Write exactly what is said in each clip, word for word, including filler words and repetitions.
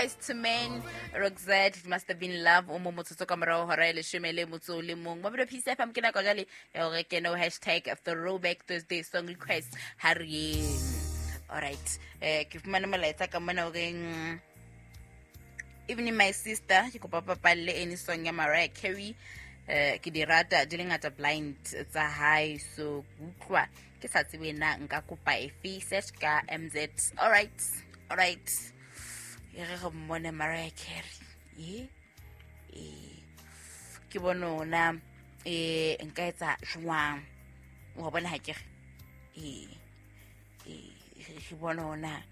To Men, Roxette, It Must Have Been Love, o mo motsotso ka morao hora ya leshome le motso o le mong. Mabelo P C F M ke nako jwale ya hore ke no hashtag Throwback Thursday song request ha re yeng. All right. Eh, ke fumane molaetsa ka mona o reng, Evening my sister, ke kopa papalle any song ya Mariah Carey. Eh, ke di rata di le ngata blind tsa hae, so utlwa ke sa tsebe na nka kopa efe, search ka M Z. All right. All right. E re re mmone Mariah Carey. E, e, ke bone ona, e, nka etsa jwang? Wa bona ha ke re? E, e, ke bone ona,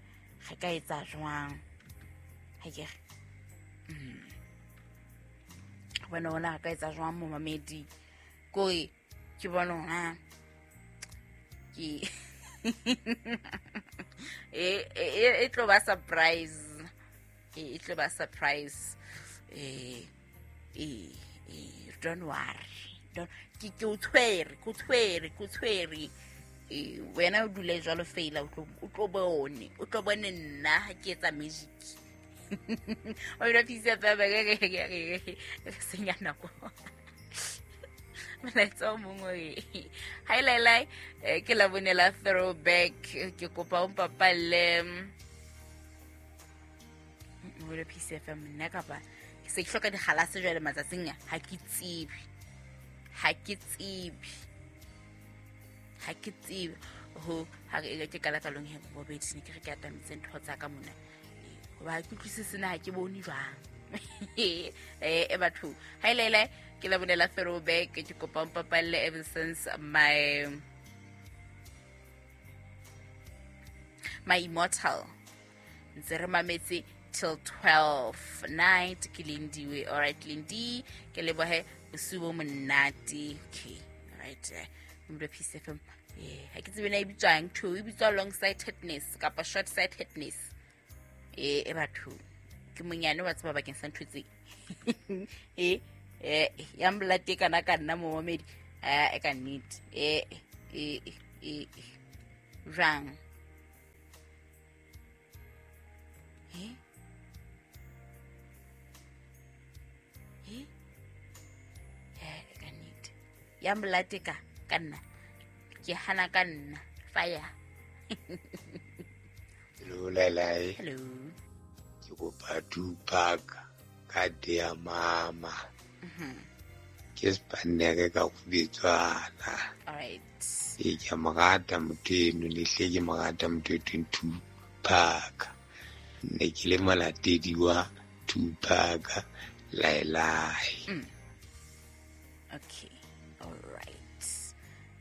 re ka etsa jwang? Ha ke re? Mm. Ke bone ona, re ka etsa jwang momamedi? Kore, ke bone ona, ke e, e, e, e tlo ba surprise. E tlo ba surprise. Eh, eh, eh, don't worry. Don't, ke, ke o tshwere, ke o tshwere, ke o tshwere. Eh, wena o dule jwalo feela, o tlo, o tlo bone, o tlo bone nna ha ke etsa magic. O ile pisa ba ba ke ke ke ke senya nako. Molaetsa o mongwe o re, Hi Lailai, eh, ke la bone la throwback, ke kopa o mpapalle. Mobile P C F M nna kapa ke se ke hloka dikgalase jwale matsatsing a, ha ke tsebe. Ha ke tsebe. Ha ke tsebe. Ho, ha re, ke qala ka long he, bobedi, ne ke re ke atametse ntho tsa ka mona. Eh, hoba ha ke utlwisise na ha ke bone jwang. Eh, eh, batho. Ha ile ile, ke la bonela throwback, ke kopa o mpapalle ever since my, my immortal. Ntse re mametse till twelve night ke Lindiwe. All right, Lindi, ke lebohe bosiu bo monate. Okay, all right. Mobile P C F M. Eh, ha ke tsebe na e bitswang ntho, e bitswa long sightedness kapa short sightedness. Eh, e batho ke monyane wa tseba bakeng sa ntho tse. Eh, eh, ya mlate kana ka nna momamedi. Eh, e ka nnete. Eh, eh, eh, eh. Jwang? Eh? Eh? Eh, e ka nnete. Ya mlate ka, ka nna. Ke hana ka nna. Fire. Hello, Lailai. Hello. Ke kopa Tupac ka Dear Mama. Mm-hmm. Ke Spanere ka go bitswana. All right. Ee, ke a mo rata motho eno, ne hle ke mo rata motho e thweng Tupac. Ne ke le molatedi wa Tupac Lailai. Mm. Okay. All right.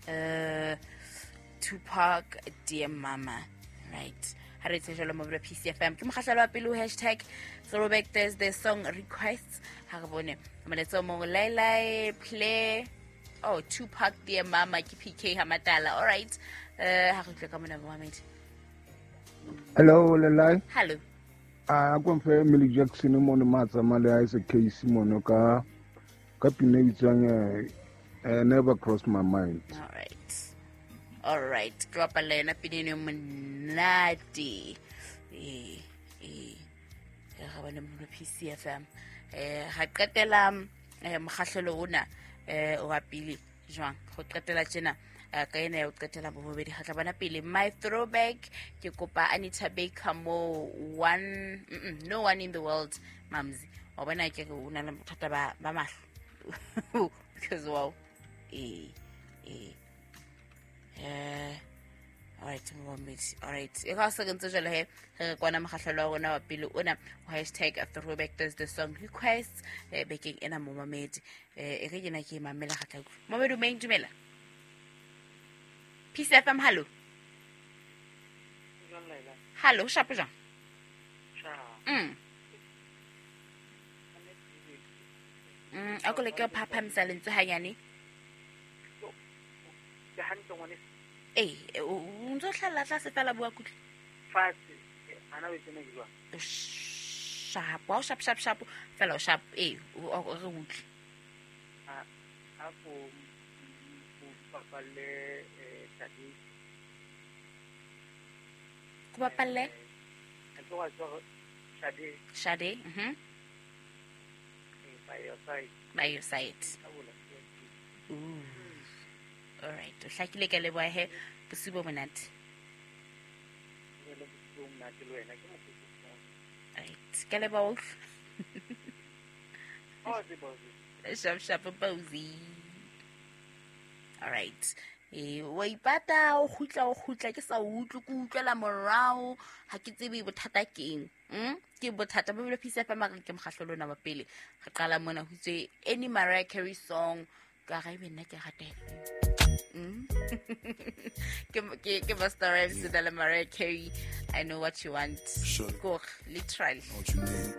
Uh, Tupac, Dear Mama. Right. Ha re tsejelo mo P C F M. Ke mokgahlelo wa pele ho hashtag Throwback Thursday song requests. Ha re bone molaetsa o mong, Lailai play oh Tupac Dear Mama ke P K Hamatala. All right. Uh, ha re utlwe ka mona Mohammed. Hello Lailai. Hello. Ah, ko mfe Millie Jackson mo ne matsa male a se K C mono ka ka pina e bitswang, eh, Never Cross My Mind. All right. All right. Ke bapala yona pina eno e monate. Eh, eh. Re bone mo P C F M. Eh, ga qetela, eh, mokgahlelo ona, eh, wa pele jwang? Go qetela tjena, eh, ka ena ya ho qetela bobedi ga tla bona pele. My throwback ke kopa Anita Baker mo one, mm, mm, no one in the world, Mamzi. Wa bona ke re o na le bothata ba, ba mahlo. Because wow. Eh, eh. Eh, all right, momamedi. All right. E ka se re ntse jwale he, re kwana mokgahlelo wa rona wa pele ona, ho hashtag Throwback Thursday song requests, eh, bekeng ena momamedi. Eh, e re ke na ke mamela ga tla utlwa. Momamedi o meng dumela. P C F M, hallo. Hallo, shapo jwang? Mm. Mm, a ko leke ho phaphamisa lentswe hanyane. Ke hantle ngwaneso. Eh, o, o ntso hlalla tlase fela bua kutlwe. Fatshe, ana o tsene jwang? O sharp, o sharp, sharp, sharp, fela o sharp, eh, o, o, re utlwe. A, a ko, o bapalle, eh, Tadi. Ko bapalle? Eh, a tloga, tloga, Shade. Shade. Mhm. By your side. By your side. Ooh. All right. O hlakile, ka leboha he. Bosiu bo monate. Right. Ka leboha. Sharp sharp Bozy. All right. Eh, wa ipata, o kgutla, o kgutla, ke sa utlwe, ke utlwela morao, ha ke tsebe bothata keng. Mm? Ke bothata bo bile Peace F M, mare ke mokgahlo lona wa pele. Re qala mona ho itswe any Mariah Carey song, ka ga ebe nna ke rata efe. Mm? Ke ke ke Busta Rhymes le Mariah Carey, I Know What You Want. Sure. Go literally. What you need.